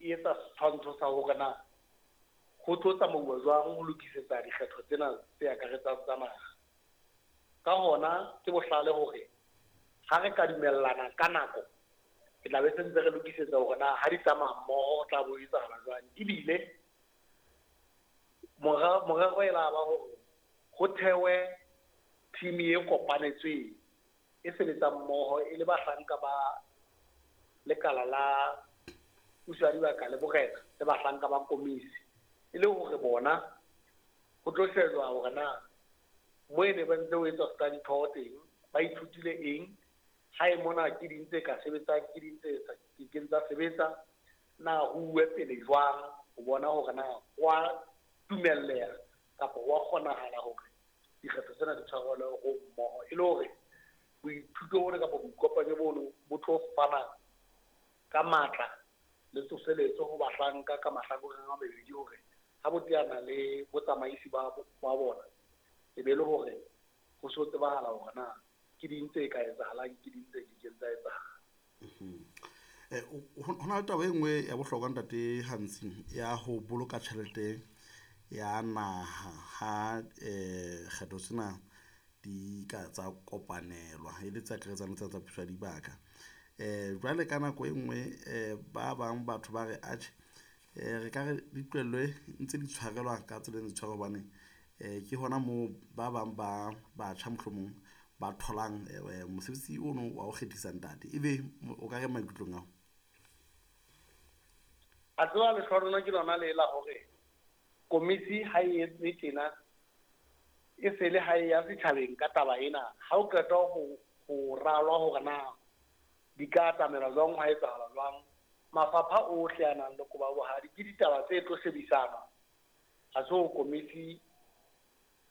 e etsa setshwantsho sa hore na ho tlo tsamauwa jwang ho lokisetsa dikgetho tsena tse akaretsang tsa naha. Ka hona ke bohlale hore ha re ka dumellana ka nako, re tla be se ntse re lokisetsa hore na ha di tsamaya mmoho ho tla bo etsahala jwang. Ebile morero e la ba hore ho thewe team e kopanetsweng e sebetsang mmoho e le bahlanka ba lekala la puso ya dibaka le borena le bahlanka ba komisi, e le hore bona ho tlo shejwa hore na mo e ne ba ntse ho etswa study tour teng ba ithutile eng, ha e mona ke ding tse ka sebetsang, ke ding tse sa kekeng tsa sebetsa, na ho uwe pele jwang ho bona hore na wa dumelleha kapa wa kgonahala hore dikgetho tsena di tshwarelwe ho mmoho, e le hore boithuto bona kapa boikopanyo bono bo tlo fana ka matla le tsoseletso ho bahlanka ka mahlakoreng a mabedi hore ha bo teana le botsamaisi ba bona e be le hore ho so tsebahala hore na ke ding tse ka etsahalang, ke ding tse kekeng tsa etsahala. Ho na le taba e nngwe ya bohlokwa ntate Gantsi ya ho boloka tjhelete ya naha ha kgetho tsena di ka tsa kopanelwa e le tse akaretsang le tsa puso ya dibaka. Jwale ka nako e nngwe ba bang batho ba re atjhe re ka re di tlohellwe ntse di tshwarelwa ka tsela e ntse tshwarwa hobane ke hona moo ba bang ba batjha mohlomong ba tholang mosebetsi ono wa ho kgethisa ntate. Ebe o ka re maikutlong ao? A tseba lehlohonolo ke lona le la hore komisi ha e etse tjena e se le ha e ya setjhabeng ka taba ena. Ha o qeta ho ralwa hore na di ka atamelwa jwang, hwa etsahala jwang, mafapha ohle a nang le koba bohadi ke ditaba tse tlo shebisanwa. Ha se ho komisi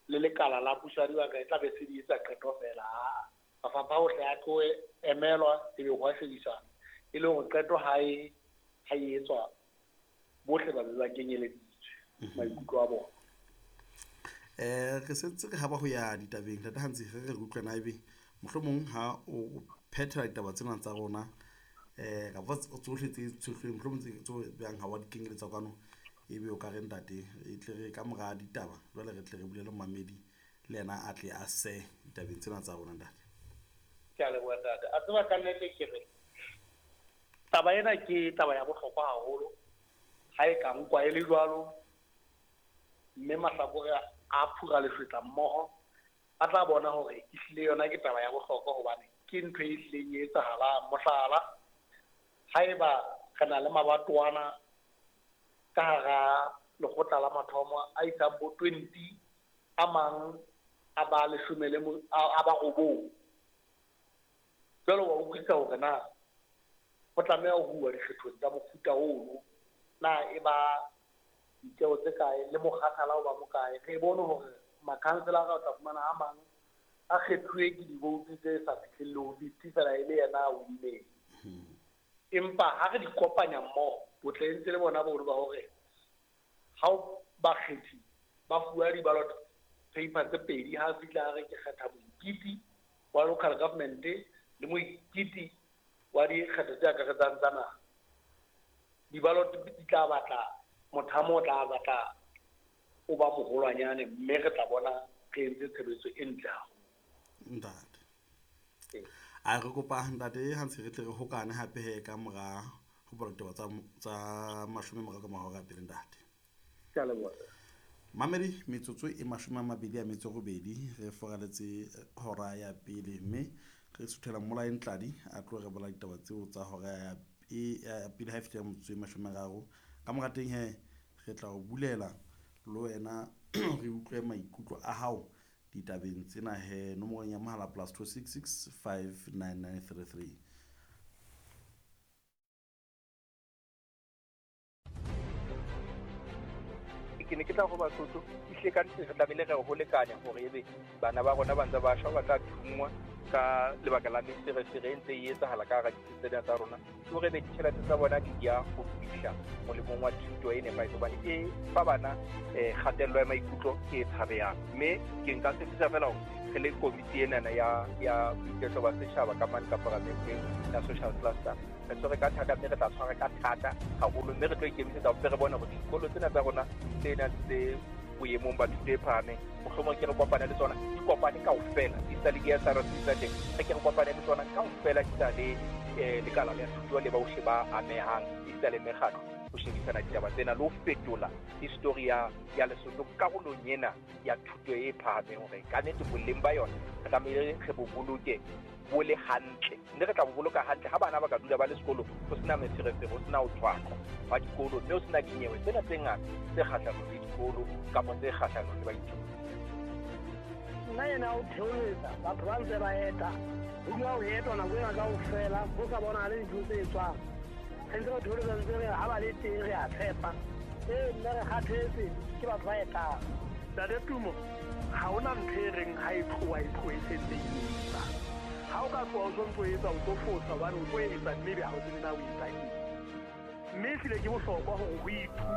le lekala la puso ya dibaka e tla be se di etsa qeto fela. Mafapha ohle a tlo emelwa ebe ho a shebisana e le hore qeto ha e etswa bohle ba be ba kenyeleditswe maikutlo a bona. Re sentse re haba ho ya ditabeng ntate Gantsi, re utlwe na ebe mohlomong ha o phethela ditaba tsena tsa rona kapa tsohle tse tshohlweng mohlomong tse bang ha wa di kenyeletsa kwano, ebe o ka re ntate e tle re ka mora ditaba jwale re tle re bulele momamedi le yena a tle a se ditabeng tsena tsa rona ntate. Ke a leboha ntate. A tseba ka nnete ke re taba ena ke taba ya bohlokwa haholo ha e ka nkwa e le jwalo, mme mahlakore a phura lefetla mmoho a tla bona hore ehlile yona ke taba ya bohlokwa hobane ke ntho e hlileng e etsahalang. Mohlala, haeba re na le mabatowana ka hara lekgotla la mathomo a isang bo 20, a mang a ba leshome le a ba robong, jwale wa utlwisisa hore na ho tlameha ho uwa dikgethong tsa mofuta ono, na e ba ditjeo tse kae le mokgathala o ba mokae. Re bone hore makhanselara o tla fumana a mang a kgethuwe ke divoutu tse sa fihlelle ho 50 fela e le yena a winneng. Empa ha re di kopanya mmoho, botle e ntse le bona bono ba hore ha bakgethi ba fuwa di-ballot paper tse pedi, ha fihla a re ke kgetha moikiti wa local government le moikiti wa dikgetho tse akaretsang tsa naha, di-ballot di tla batla mothamo o tla batla o ba moholwanyane, mme re tla bona re entse tshebetso e ntle haholo. Ntate. A re kopa ntate Gantsi re tle re hokane hape he ka mora ho bala ditaba tsa 13 ka mora hora pele ntate. Ke a leboha. Mamedi, metsotso e 28 re foraletse hora ya pele, mme re suthela Mmolae Ntladi a tlo re bola ditaba tseo tsa hora ya pele ha e fihla metsotso e 30. Ka mora teng he re tla o bulela le wena re utlwe maikutlo a hao ditabeng tsena he nomorong ya mohala +266 59933. Ke ne ke tla ho Basotho, ehlile ka nnete re tlamehile re ho lekanya hore ebe bana ba rona ba ntse ba shwa, ba tla thunngwa, Ka lebaka la meferefere e ntse e etsahala ka hara ditsi tsena tsa rona, ke hore ebe ditjhelete tsa bona di ya ho fihla molemong wa thuto e nepahetseng, hobane e fa bana kgatello ya maikutlo e tshabehang. Mme ke nka tshepisa fela hore re le komiti enana ya boiketlo ba setjhaba ka mane ka paramenteng ya social cluster, re tshwere ka thata, mme re tla tshwara ka thata haholo, mme re tlo ikemisetsa ho re bone hore dikolo tsena tsa rona tse nang tse boemong ba thuto e phahameng, mohlomong ke re kopane le tsona, di kopane kaofela, di sa le di-S_R_C tsa teng, re ke re kopane le tsona kaofela, di sa le lekala la thuto le bohle ba amehang, di sa le mekgatlo, ho shebisana ditaba tsena le ho fetola history ya Lesotho karolong ena ya thuto e phahameng, hore ka nnete boleng ba yona re tlamehile re bo boloke bo le hantle, mme re tla bo boloka hantle ha bana ba ka dula ba le sekolo, ho sena meferefere, ho sena ho thwaqwa wa dikolo, mme ho sena dinyewe tsena tse ngata tse kgahlanong le dikolo kapa tse kgahlanong le baithuti. Nna ena o theoletsa batho ba ntse ba eta, ho dula ho etwa nako ena kaofela, ho sa bonahale dintho tse etswang. Re ntse re theoletsa ntse re ha ba le teng re a tshepa. Ee, nna re kgathetse ke batho ba etang. Ntate Tumo, ha hona ntho e reng ha e tloha e tlohe e sentse e etsa. Ha o ka tloha o sontso etsa, o tlo fosa hobane o tlo etsa mme ebe ha o tsebe na o etsa eng. Mme ehlile ke bohlokwa hore ho ithutwe.